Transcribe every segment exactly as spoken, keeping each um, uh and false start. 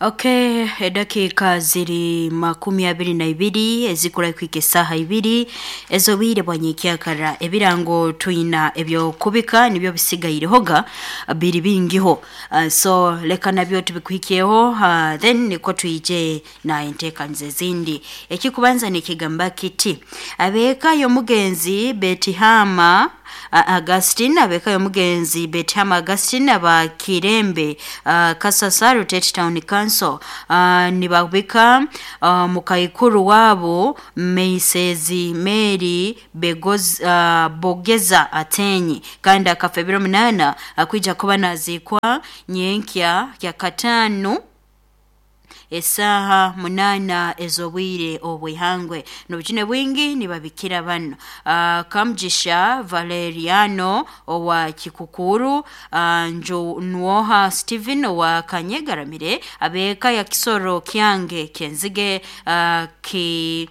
Okay, edakika ziri makumi abiri na ibiri ezikura kwika esaha ibiri ezobwire bwa nyekyakara. Ebirango twina ebyokubika nibyo bisigairehoga biri bingiho. Uh, so leka nabyo tubikuhikyeho, uh, then niko twije na enteekaniza ezindi. Ekikubanza nikigamba kiti: abeeka y'omugenzi Betihama uh, Augustine, abeeka y'omugenzi Betihama Augustine aba Kirembe, uh, Kasasa Rutete Town Council, uh, nibabika uh, mukaikuru wabo Meisezi Mary Begoz, uh, Bogeza Atenyi, kandi akafa ebiro munana, akwija kuba nazikwa nyenkya ya katano esaha munana ezobwire obwihangwe. Nobukine bwingi nibabikira bano: uh, Kamjisha Valeriano owa Kikukuru, uh, Nwoha Steven owa Kanyegaramire, abeka ya Kisoro Kyange Kenzige, uh, ki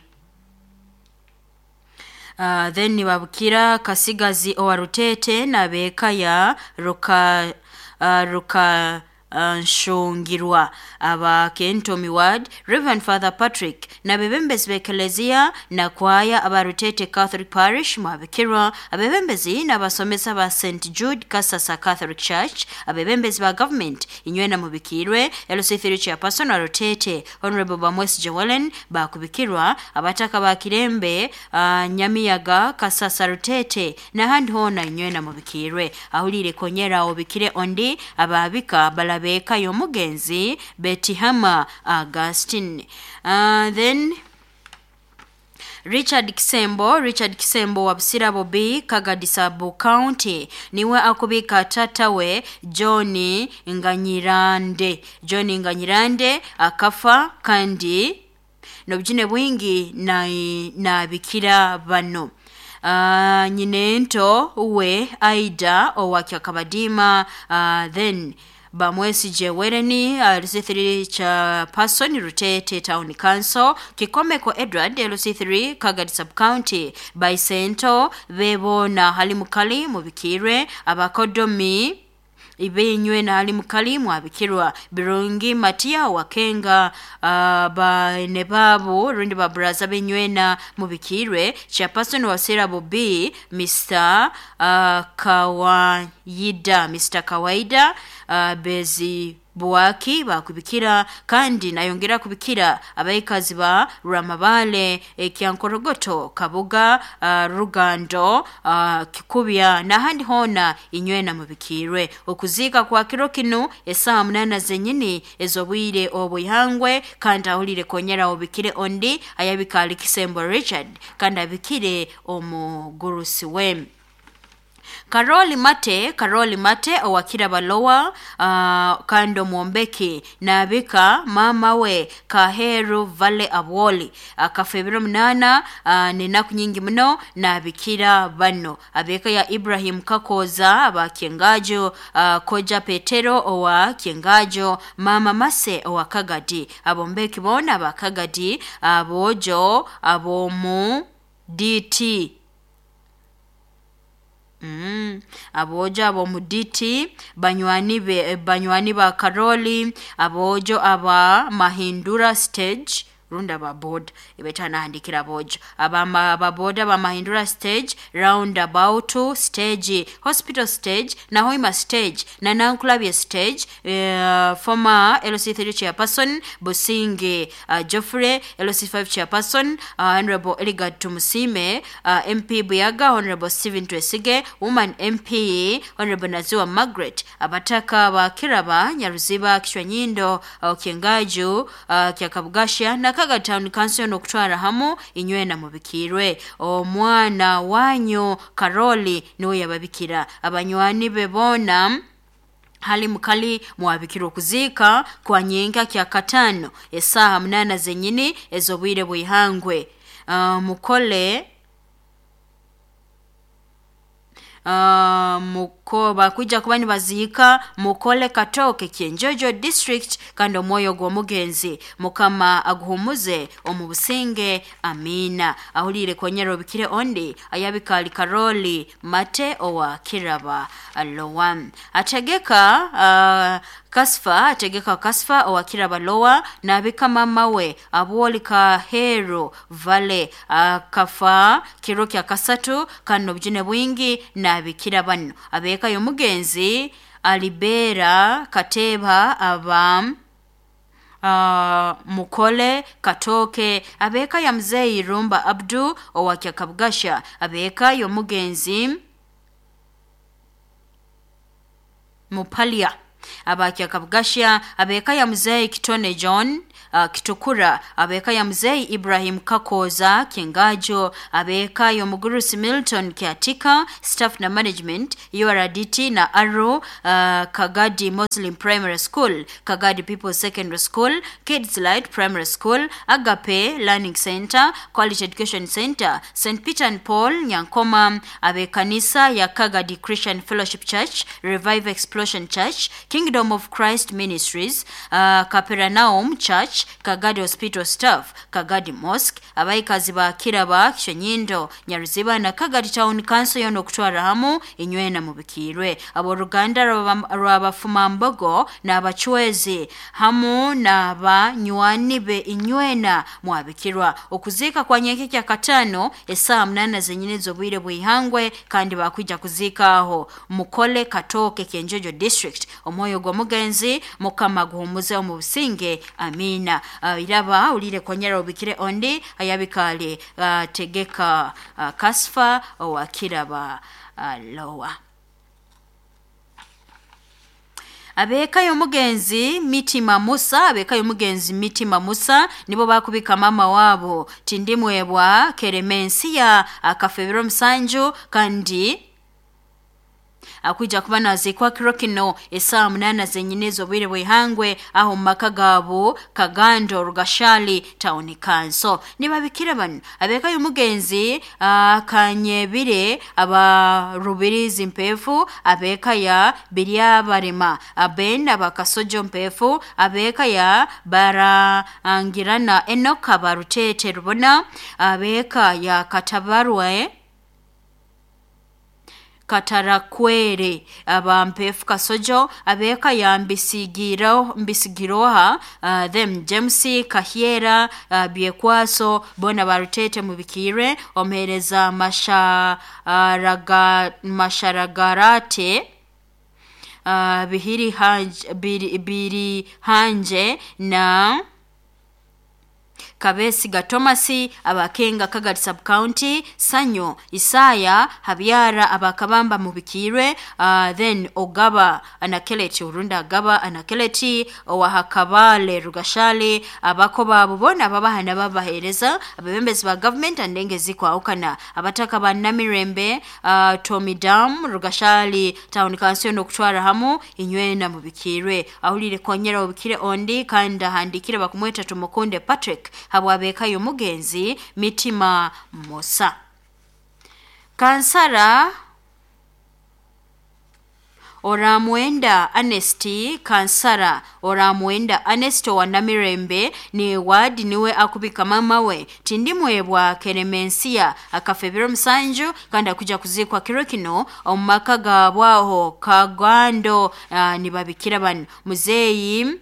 Uh, then nibabukira Kasigazi owa Rutete n'abeeka ya Ruka uh, Ruka uh, Nshungirwa aba Kentomi Ward, Reverend Father Patrick n'abebembezi b'ekelezia na kwaya aba Rutete Catholic Parish mwabikirwa, abebembezi n'abasomesa ba Saint Jude Kasasa Catholic Church, abebembezi ba government inywena mubikirwe, L C three chairperson wa Rutete Honorable Bamwesi Joellen bakubikirwa, abataka ba Kirembe, uh, Nyamiyaga, Kasasa, Rutete n'ahandi hoona inywena mubikirwe. Ahulire konyera obikire ondi ababika balabeka y'omugenzi Betihama Augustine. Uh, then Richard Kisembo, Richard Kisembo wa Busirabo B, Kagadi Sub County, niwe akubika tatawe John Nganyirande. John Nganyirande akafa, kandi nobujune bwingi na nabikira bano: uh, nyinento we Aida owa Kyakabadima, uh, then Bamwesije Wereni, uh, L C three chairperson Rutete Town Council, Kikomeko Edward, L C three Kagadi Sub County, Baisento bebo na Halimukali mubikirwe, abakodomi ibenywe na Halimukali mwabikirwa, Birungi Matia Wakenga, uh, bane babo rundi baburaza benywena mubikirwe, chairperson wa Serabo B Mister uh, Kawaida, Mister Kawaida, uh, Bezi Buwaki bakubikira, kandi nayongera kubikira abaikazi ba Rwamabale, Ekyankorogoto, Kabuga, uh, Rugando, uh, Kikubya n'ahandi hoona inywena mubikirwe. Okuziika kwa kiro kinu esaha munana zenyini ez'obwire obwihangwe, kandi ahulire konyera obikire ondi ayabika ali Kisembo Richard, kandi abikire omugurusi we Karoli Mate, Karoli Mate owakira balowa, uh, kandi omwombeki, nabika mama we Kaheru Vale Abwoli akafa ebiro munana, uh, nenaku nyingi muno. Nabikira bano: abeka ya Ibrahim Kakoza aba Kyengajo, uh, Koja Petero owa Kyengajo, Mama Mase owa Kagadi, abombeki bona aba Kagadi, abojo abomu D T. Mm. Abojo ab'omu D T, banywani be, banywani ba Karoli, abojo aba Mahindura stage rundi aba boda ebetanahandikira abojo aba ababoda ba Mahindura stage, roundabout stage, hospital stage na Hoima stage na Nankulabye stage, uh, former L C three chairperson Businge uh, Geoffrey, L C five chairperson uh, Honorable Eligard Tumusime, uh, M P Buyaga Honorable Stephen Twesige, woman M P Honorable Naziwa Margaret, abataka ba Kiraba, Nyaruziba, Kishwanyindo, uh, Kyengaju, uh, Kyakabugasha na Kaga Town Council n'okutwara hamu inywena mubikirwe. Omwana wanyu Karoli niwe yababikira, abanywani be boona hali mukali mwabikirwa. Okuziika kwa nyenka kya katano esaaha munana zenyini ez'obwire bwihangwe, uh, mukole Uh, muko bakwija kuba nibaziika mukole Katoke, Kyenjojo district, kandi omwoyo gw'omugenzi Mukama aguhumuze omu businge, amina. Ahulire konyera obikire ondi ayabikali Karoli Mate owa Kiraba Lowa ategeka uh, Kasfa ategeka Kasfa owakira balowa nabika mama we abwoli Kahero Vale akafa kiro kya kasatu kandi n'obujune bwingi nabikira bano abeka y'omugenzi Alibera Kateba aba Uh, Mukole Katoke abeka ya mzee Rumba Abdu owakyakabugasha abeka y'omugenzi Mupalia abakyakabugasha abeka ya mzee Kitone John uh, Kitukura abeka ya mzee Ibrahim Kakoza Kingajo abeka y'omugurusi Milton Kiatika staff na management U R D T na Aro uh, Kagadi Muslim Primary School, Kagadi People Secondary School, Kids Light Primary School, Agape Learning Center, Quality Education Center, Saint Peter and Paul Nyankoma, abekanisa ya Kagadi Christian Fellowship Church, Revive Explosion Church, Kingdom of Christ Ministries, uh, Capernaum Church, Kagadi Hospital Staff, Kagadi Mosque, abaikazi ba Kiraba, Kishenyindo, Nyaruziba na Kagadi Town Council yono okutwara hamu inywena mubikirwe. Aboruganda rw'abafumambogo n'abachwezi hamu n'abanywani be inywena mwabikirwa. Okuziika kwa nyenkekya katano esaa munana zenyine z'obwire bw'ihangwe kandi bakwija kuziika aho Mukole Katoke Kyenjojo District. Omwoyo gw'omugenzi Mukama guhumuze omu businge, amina. Uh, iraba ulire konyera obikire ondi ayabikale uh, tegeka uh, Kasfa owakiraba uh, lowa. Abeka y'omugenzi Mitima Musa, abeka y'omugenzi Mitima Musa nibo bakubika mama wabo Tindimwebwa Keremensia akafebero musanju kandi akuja kuba nazikwa kiro kino esaa munana zenyine z'obwire bw'ihangwe aho mu maka gabo Kagando Rugashali Town Council. Nibabikira bano abeka y'omugenzi uh, Kanyebire aba Rubirizi Mpefu abeka ya Biryabarema Aben abakasojo Mpefu abeka ya Barangirana Enoka Barutete Rubona abeka ya Katabarwe Katarakwere abampefu Kasojo abeka ya mbisigiro mbisigiroha uh, them James Kahiera uh, Biekwaso bona barutete mubikire omereza masharaga masharagarate uh, bihiri hanje, biri, biri hanje na Kabesiga Thomasi abakenga Kagadi Sub County Sanyo Isaya Habyara abakabamba mubikirwe uh, then Ogaba Anakeleti Urunda Agaba Anakeleti Owahakabale Rugashali abakoba bubona babahana babahereza abebembezi ba government andenge zikwaukana abataka ba Namirembe uh, Tommy Dam Rugashali Town Council no kutwara hamu inywena mubikirwe ahulire konyera ubikire ondi kandi ahandikire bakumweta Tumukunde Patrick habwabeka y'omugenzi Mitima Musa. Kansara Oramwenda Anesti Kansara Oramwenda Anesto wa Namirembe ni wadi niwe akubika mama we Tindimwebwa Keremensia akafebero musanju kandi akuja kuzikwa kiro kino omu maka gabwaho Kagando uh, nibabikira bano muzeeyi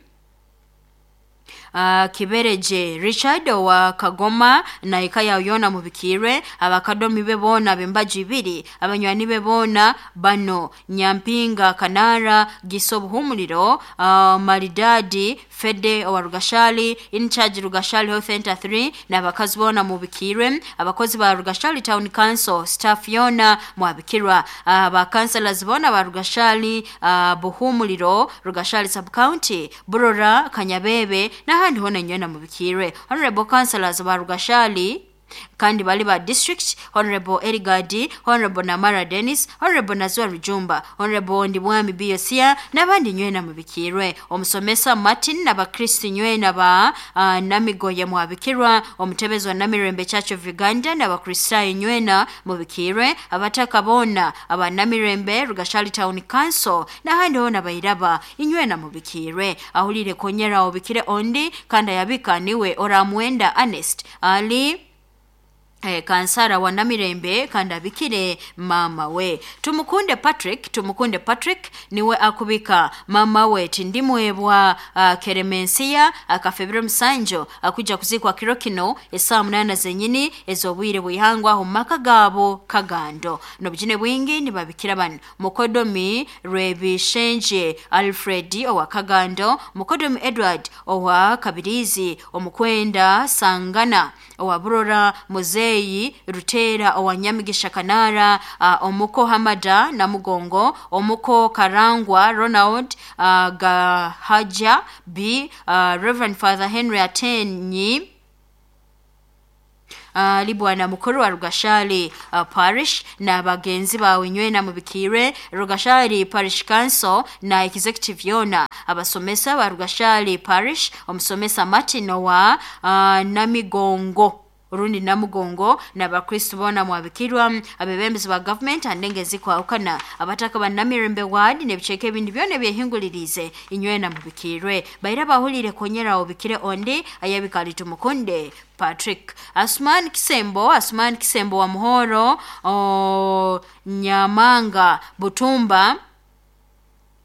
Uh, Kibereje Richard wa Kagoma na ikaya yona mubikirwe abakadomi be bona bembaji ibiri abanywani be bona bano Nyampinga Kanara Gisobuhumuliro uh, Maridadi Fede wa Rugashali in charge Rugashali Health Center three na abakazi bona mubikirwe abakozi ba Rugashali Town Council staff yona mwabikirwa aba uh, councillors bona ba Rugashali uh, Buhumuliro Rugashali Sub County Burora Kanyabebe n'ahandi hona nywena mubikirwe. Honorable councillors ba Rugashali kandi bali ba district Honorable Erigadi, Honorable Namara Dennis, Honorable Nazwa Rujumba, Honorable Ndibwami Biyosia n'abandi nywena mubikirwe. Omusomesa Martin n'abakristo nywena ba uh, Namigoye mwabikirwa, omutebezi wa Namirembe Church of Uganda n'abakristayo nywena mubikirwe, abataka bona aba Namirembe Rugashali Town Council n'ahandi hona bayiraba inywena mubikirwe. Ahulire konyera obikire ondi kandi ayabika niwe Oramwenda Ernest Ali Eh, kansara wa Namirembe kandi abikire mama we. Tumukunde Patrick, Tumukunde Patrick niwe akubika mama we Tindimwebwa uh, Keremensia akafebiro musanjo akuja kuzikwa kiro kino esaa munana zenyini ezobwire bwihangwa aho maka gabo Kagando. Nobujine bwingi nibabikira bano Mukodomi Rebishenje Alfred owa Kagando, Mukodomi Edward owa Kabirizi, Omukwenda Sangana owa Burora, Muzeyi Rutera owa Nyamigisha Kanara, uh, Omuko Hamada Namugongo, Omuko Karangwa Ronald, uh, Gahaja B, uh, Reverend Father Henry Atenyi Uh, libwana mukuru wa Rugashali uh, Parish na bagenzi bawe nywena mubikire Rugashali Parish Council na Executive yona, abasomesa ba Rugashali Parish, omusomesa Martin wa uh, Namigongo urundi Namugongo na bakristo bona mwabikirwa, abebembezi ba government andenge zikwawukana, abataka ba Namirembe ward n'ebiceke ebindi byona ebyehingulirize inywena mubikirwe. Baira bahulire konyera obikire ondi ayabikali Tumukunde Patrick. Asman Kisembo, Asman Kisembo wa Muhoro o, Nyamanga Butumba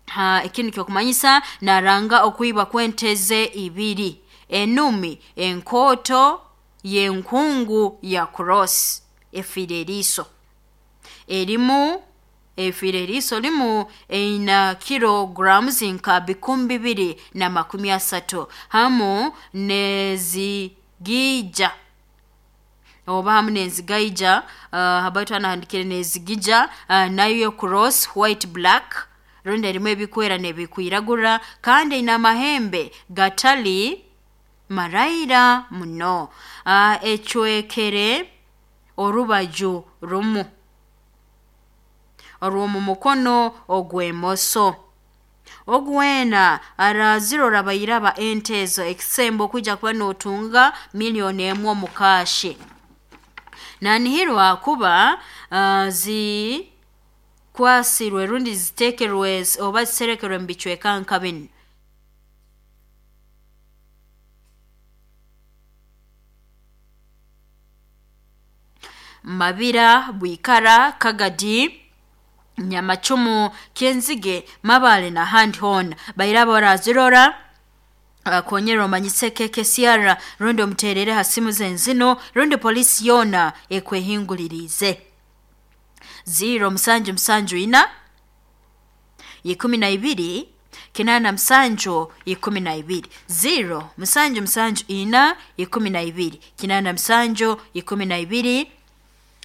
ha ekinu kyokumanyisa naranga okuiba kwenteze ibiri enumi enkoto yenkungu ya cross efireriso erimu efireriso limu eina kilograms nka bikumi bibiri na makumi asatu hamu nezigija oba hamu nezigaija uh, habaitu anahandikire nezigija uh, nayo cross white black rundi erimu ebikwera nebikwiragura kandi ina amahembe gatali maraira muno. uh, echwekere orubaju rumu orw'omu mukono ogw'emoso ogwena arazirora bayiraba entezo ekisembo kuja kuba notunga milioni emu omukashi nanihirwa kuba uh, zi kwasirwe rundi zitekerwe oba ziserekerwe mu bicweka nka binu. Mabira, Bwikara, Kagadi, Nyamacumu, Kenzige, Mabale na handi hona. Bairaba barazirora akonyera omanyise K K C R rundi omuterere ha simu zenzino rundi polisi yona ekwehingulirize. Zero musanju musanju ina ikumi na ibiri kinana musanju ikumi na ibiri zero musanju musanju ina ikumi na ibiri kinana musanju ikumi na ibiri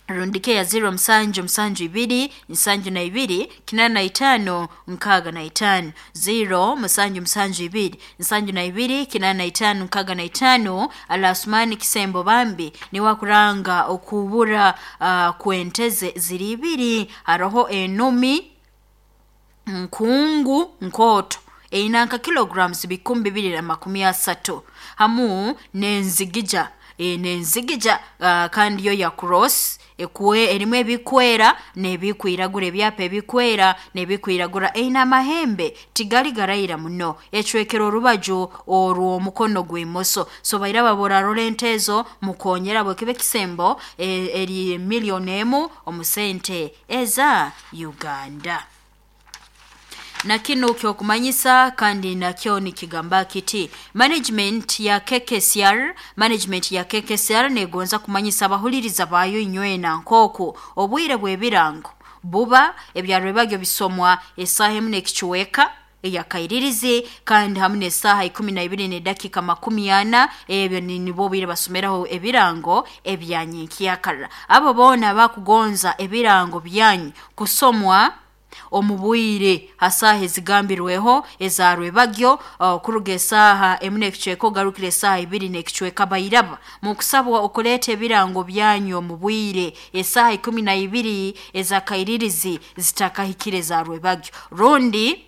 rundike ya zero musanju musanju ibiri nsanju na ibiri kinana na itano nkaga na itano zero musanju musanju ibiri nsanju na ibiri kinana na itano nkaga na itano. Alasumani Kisembo bambi ni wakuranga okubura uh, kwenteze ziri ibiri haroho enumi nkungu nkoto einanka kilograms bikumi bibiri na makumi asatu hamu nenzigija e, nenzigija uh, kandi yo ya cross ekuwe erimu ebikwera nebikwiragura ebyapa ebikwera nebikwiragura eina amahembe tigali garayira muno ecwekero orubaju orw'omukono gw'imoso. So baira babora rolentezo mukonyera bwekibe kisembo e, eri milioni emu omusente eza Uganda. Na kino kyokumanyisa kandi nakyo nikigamba kiti management ya K K C R, management ya K K C R negonza kumanyisa abahuliriza bayo inywena nkoku obwire bwebirango buba ebyaro bagyo bisomwa esaha emu n'ekicuweka eyakairirizi kandi hamwe n'esaha ikumi na ibiri n'edakika makumi ana ebyo nibo bwire basomeraho ebirango ebyanyinkiyakara. Abo bona bakugonza ebirango byanyu kusomwa omubwire hasaha ezigambirweho ezarwe bagyo uh, kuruga esaha emu n'ekicweka ogarukire esaha ibiri n'ekicweka bairaba mukusabwa okuleeta ebirango byanyu omubwire esaha ikumi na ibiri ezakairirizi zitakahikire ezarwe bagyo rundi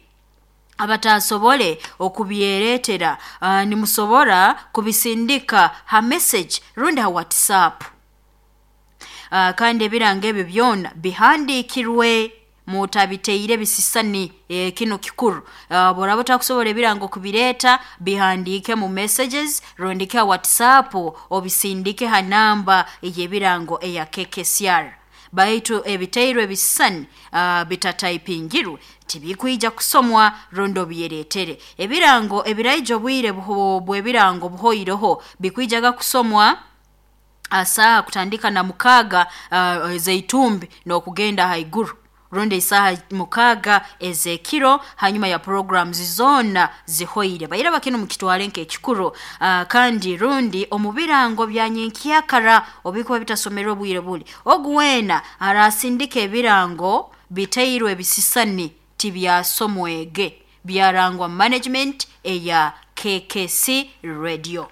abatasobole okubyeretera uh, nimusobora kubisindika ha message rundi ha WhatsApp uh, kandi ebirango ebyo byona bihandikirwe Mutabiteire bisisani, e, kino kikuru. Uh, boraba otakusobora ebirango kubireeta, bihandiike mu messages rondike ha WhatsApp, obisindike ha namba ey'ebirango eya K K C R. Baitu ebiteirwe ebisisani uh, bitataipingirwe tibikwija kusomwa rondo byeretere. Ebirango ebiraija obwire bw'ebirango buhoireho bikwijaga kusomwa asaha kutandika na mukaga uh, zeitumbi n'okugenda haiguru, rundi isaha mukaga ezekiro, hanyuma ya programs zona zihoire. Baira bakino mukitwale nk'ekikuru. Uh, kandi rundi omu birango bya nyenkyakara obikuba bitasomerwa obwire buli ogu wena arasindika ebirango biteirwe ebisisani tibyasomwege, byarangwa management eya K K C Radio.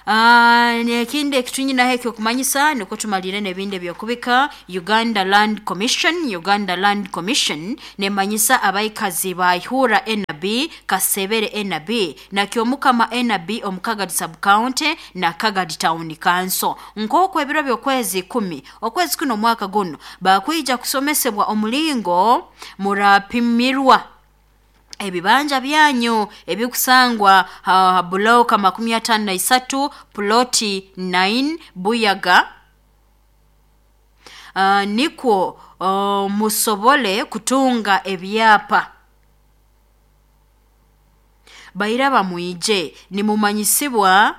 Ekindi ekitunyinaho ekyokumanyisa nikwo tumalire n'ebindi ebyokubika. Uganda Land Commission, Uganda Land Commission nemanyisa abaikazi ba Ihura N B, Kasebere N B na Kyomukama N B omu Kagadi Sub County na Kagadi Town Council nk'oku ebiro by'okwezi ikumi okwezi kuno omwaka guno bakwija kusomesebwa omulingo murapimirwa ebibanja byanyu ebikusangwa ha bloka makumi atano na isatu ploti nine Buyaga, uh, nikwo uh, musobole kutunga ebyapa. Bairaba mwije nimumanyisibwa